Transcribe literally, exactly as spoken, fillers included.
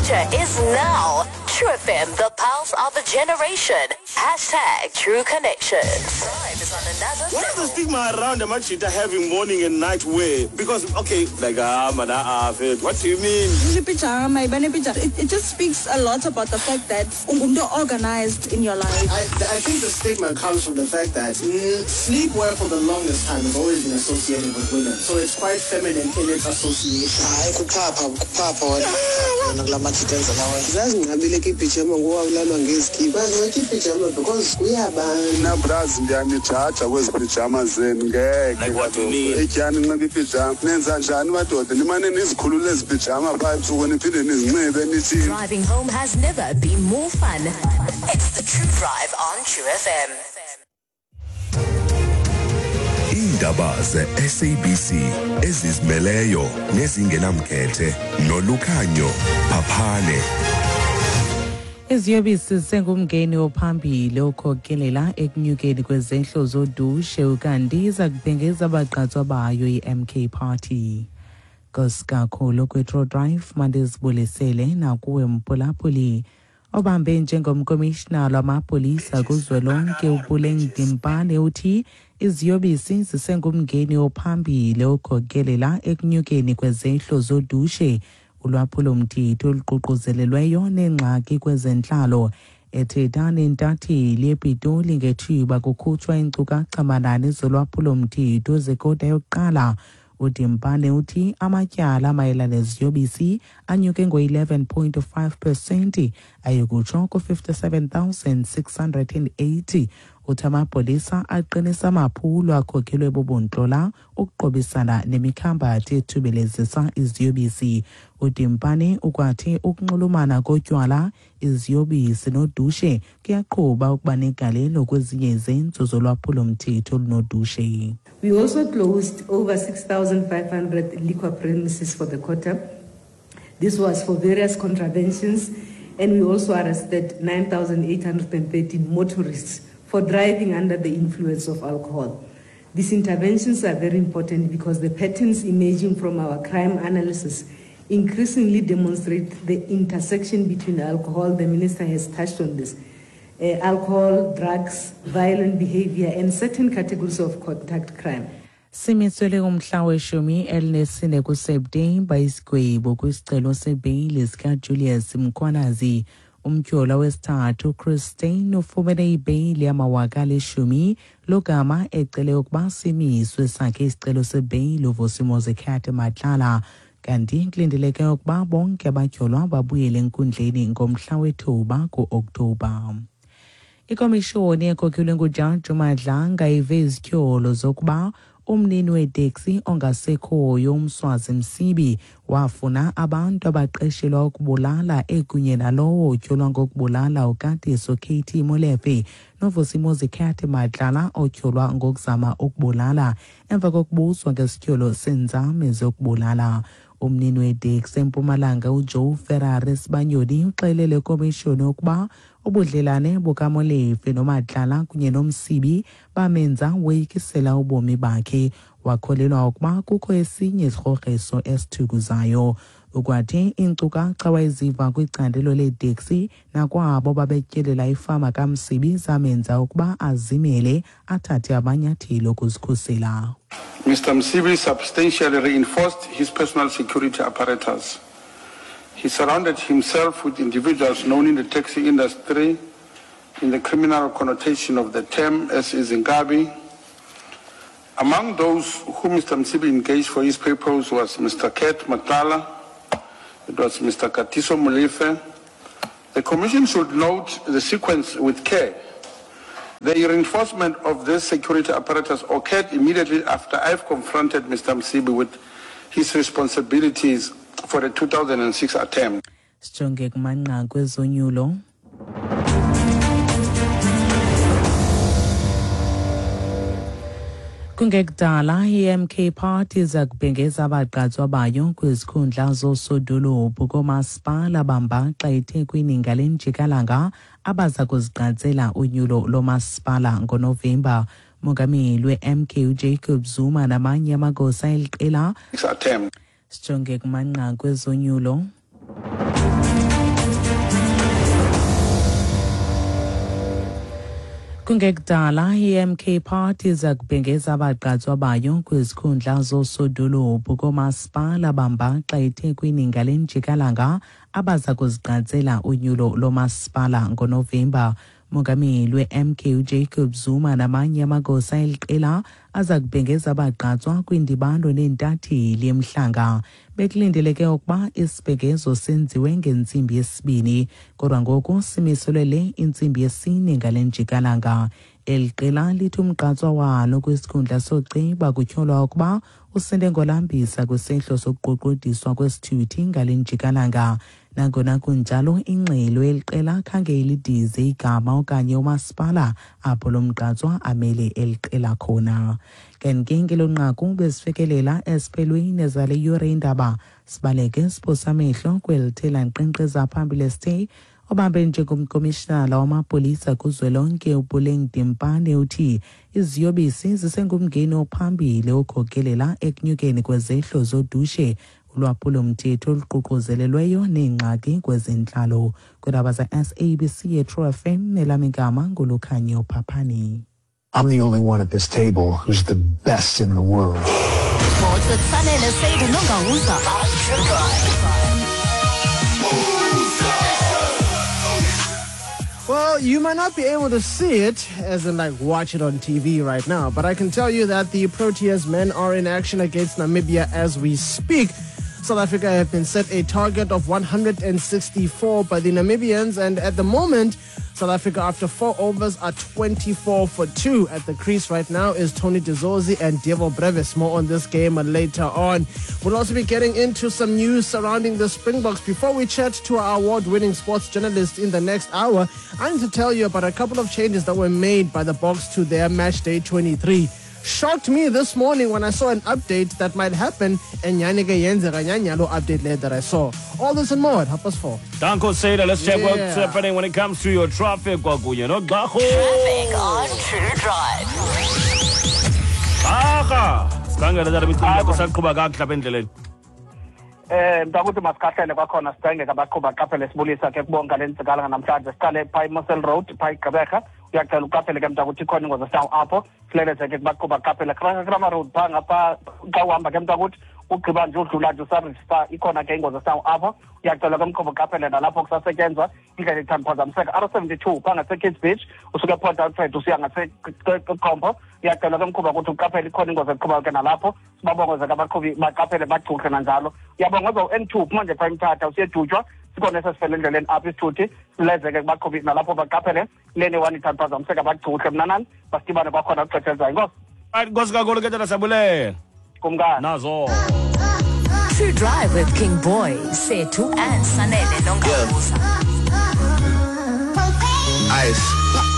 future is now. True F M, the pulse of a generation. Hashtag True Connections. Drive is on another What is the level. stigma around the Machita having morning and night wear? Because, okay, like, ah, man, ah, what do you mean? Pyjama, it, it just speaks a lot about the fact that ungumntu organized in your life. I, I think the stigma comes from the fact that mm, sleepwear for the longest time has always been associated with women. So it's quite feminine in its association. Hayi, kuphapha, kuphapha wena. Wena kula majita enza lawa. Zazinqabile ke ipijama ngoku ngezikipa. Bazinxiba ipijama because kuyabanda. Mna brazi ndiyanijaja kwezi pijama zenu ngeke. Like what do you mean? Etyani nxiba ipijama. Nenza njani madoda? Nimane nizikhulule ezi pijama phaa ebusuku niphinde nizinxibe nithi. Driving home has never been more fun. It's the True Drive on True F M. Iindaba ze-S A B C ezizimeleyo nezingenamkhethe nolukhanyo phaphane. Iziyobisi zisengumngeni ophambili okhokelela ekunyukeni kwezehlo zodushe ukanti iza kubhengeza abagqatswa bayo i-M K Party. Nkosi kwe-True Drive mandizibulisele nakuwe mphulaphuli. Obambe njengomkomishinala wamapolisa kuzwelonke uPuleng Dimpane uthi iziyobisi zisengumngeni ophambili okhokelela ekunyukeni kwezehlo zodushe, ulwaphulomthetho oluququzelelweyo neengxaki kwezentlalo. Ethetha nentatheli ePitoli ngethuba kukhutshwa iinkcukacha-manani zolwaphulomthetho zekota yokuqala, uDimpane uthi amatyala mayelana neziyobisi anyuke ngo-eleven point five percent ayekutsho ku-fifty-seven thousand six hundred and eighty. Uthi amapolisa aqinisa amaphulo akhokhelwe bubuntlola ukuqobisana nemikhambathi ethubelezisa iziyobisi. uDimpane ukwathi ukunxulumana kotywala, iziyobisi nodushe kuyaqhuba ukuba negalelo kwezinye izenzo zolwaphulomthetho olunodushe. We also closed over six thousand five hundred liquor premises for the quarter. This was for various contraventions, and we also arrested nine thousand eight hundred thirteen motorists for driving under the influence of alcohol. These interventions are very important because the patterns emerging from our crime analysis increasingly demonstrate the intersection between alcohol, the minister has touched on this, uh, alcohol, drugs, violent behavior, and certain categories of contact crime. Simisele umhla weshumi elinesine kuSeptemba isigwebo kwisicelo sebheyili sikaJulius Mkhwanazi. Umtyholwa wesithathu Christine ufumene ibheyili yamawaka alishumi logama ecele ukuba simiswe sakhe isicelo sebheyili uVusimuzi Cat Matlala. Kanti kulindeleke ukuba bonke abatyholwa babuyele enkundleni ngomhla wethuba ku-Oktoba. Ikomishoni ekhokhelwe nguJaji Madlanga ive izityholo zokuba umnini weteksi ongasekhoyo uMswazi Msibi wafuna abantu abaqeshelwa ukubulala ekunye nalowo otyholwa ngokubulala uKatiso K T Molefe noVusimuzi Cat Matlala otyholwa ngokuzama ukubulala emva kokubuzwa ngesityholo senzame zokubulala. Umnini weteksi eMpumalanga uJoe Ferrari Sibanyoni uxelele ikomishoni ukuba ubudlelane bukaMolefe noMatlala kunye noMsibi bamenza woyikisela ubomi bakhe. Wakholelwa ukuba kukho esinye isigrogriso esithukuzayo. Ukwathi iinkcukacha wayeziva kwicandelo leeteksi nakwabo babetyelela ifama kaMsibi zamenza ukuba azimele athathe amanyathelo okuzikhusela. Mister Msibi substantially reinforced his personal security apparatus. He surrounded himself with individuals known in the taxi industry in the criminal connotation of the term, as is Inkabi. Among those whom Mister Msibi engaged for his purpose was Mister Cat Matlala, it was Mister Katiso Molefe. The Commission should note the sequence with care. The reinforcement of this security apparatus occurred immediately after I've confronted Mister Msibi with his responsibilities for the two thousand six attempt. Sijonge kumanqaku ezonyulo. Kungekudala i-M K Party iza kubhengeza abagqatswa bayo kwizikhundla zoosodolophu koomasipala bambaxa eThekwini ngale njikalanga abaza kuzigqatsela unyulo lomasipala ngoNovemba. Mongameli we-M K uJacob Zuma namanye amagosa eliqela. Attempt. Sijonge kumanqaku ezonyulo. Kungekudala i-M K Party iza kubhengeza abagqatswa bayo kwizikhundla zoosodolophu koomasipala bambaxa eThekwini ngale njikalanga abaza kuzigqatsela unyulo lomasipala ngoNovemba. Mongameli we-M K uJacob Zuma namanye amagosa eliqela aza kubhengeza abagqatswa kwindibano neentatheli emhlanga. Bekulindeleke ukuba isibhengezo senziwe ngentsimbi yesibini, kodwa ngoku simiselwe le intsimbi yesine ngale njikalanga. Eli qela lithi umgqatswa walo kwisikhundla soociba kutyholwa ukuba usinde ngolambisa kwisehlo sokuqoqodiswa kwesithuthi ngale njikalanga. Nangona kunjalo, ingxelo eliqela khange ilidize igama okanye umasipala apho lo mgqatswa amele eliqela khona. Kanti ke ngelo nqaku besifikelela esiphelweni zale yure indaba. Sibaleke siphosa amehlo kweli nkqenkqeza phambili esithe obambe njengomkomishinala wamapolisa kuzwelonke uPuleng Dimpane uthi iziyobisi zisengumngeni ophambili okhokelela ekunyukeni kwezehlo zodushe, ulwaphulomthetho oluququzelelweyo neengxaki kwezentlalo. Kwiindaba ze-S A B C yeTrue F M, elam igama nguLukhanyo Phaphani. I'm the only one at this table who's the best in the world. Sports with Sanele Sedu Nongauza. Well, you might not be able to see it, as in like watch it on T V right now, but I can tell you that the Proteas men are in action against Namibia as we speak. South Africa have been set a target of one hundred sixty-four by the Namibians, and at the moment, South Africa, after four overs, are twenty-four for two. At the crease right now is Tony de Zorzi and Dewald Brevis. More on this game later on. We'll also be getting into some news surrounding the Springboks. Before we chat to our award-winning sports journalist in the next hour, I need to tell you about a couple of changes that were made by the Boks to their match day twenty-three. Shocked me this morning when I saw an update that might happen, and yanike yenzeka nyanyalo update later that I saw. All this and more at half past four. Danko Seda, let's check yeah. what's happening when it comes to your traffic. Kwakunye noGxarhu. Traffic on True Drive. Aha, sikhangele tata imicimbi yakho saqhuba kakuhle apha endleleni. Eh mntakuthi masikahlele kwakhona sicenge abaqhuba qaphele sibulisa ke kubonga lentsikala namhlanje siqale pha iMosel Road pha iGqeberha. Uyacela uqaphele ke mntakuthi ikhona ingozi esinawo apho sileleze ke kubaqhuba qaphele Kramer Road pha ngapha xa uhamba ke mntakuthi ugqiba nje udlula nje usarista ikhona ke ingozi esinawo apho uyacela ke mqhuba uqaphele nalapho kusasetyenzwa indlela ithanda phazamiseka R seventy-two pha ngase-Kids Beach usuke ePort Alfred usiya ngaseKompo uyacela ke mqhuba ukuthi uqaphele ikhona ingozi eqhubayo ke nalapho sibabongoze ke abaqhubi baqaphele bachuhle nanjalo. Uyabongoza u-N two phuma nje pha eMthatha usiyedutywa sikhona esesifele endleleni apho isithuthi silezeke kubaqhubi nalapho baqaphele lene one ithanda phazamiseka bachuhle mnanani basidibane kwakhona kuxesha elizayo. Inkosi. Right, inkosi kakhulu ke tata siyabulela. Kumkani. Nazo. True Drive with King Boy, Sethu and Sanele Nongauza. Ice.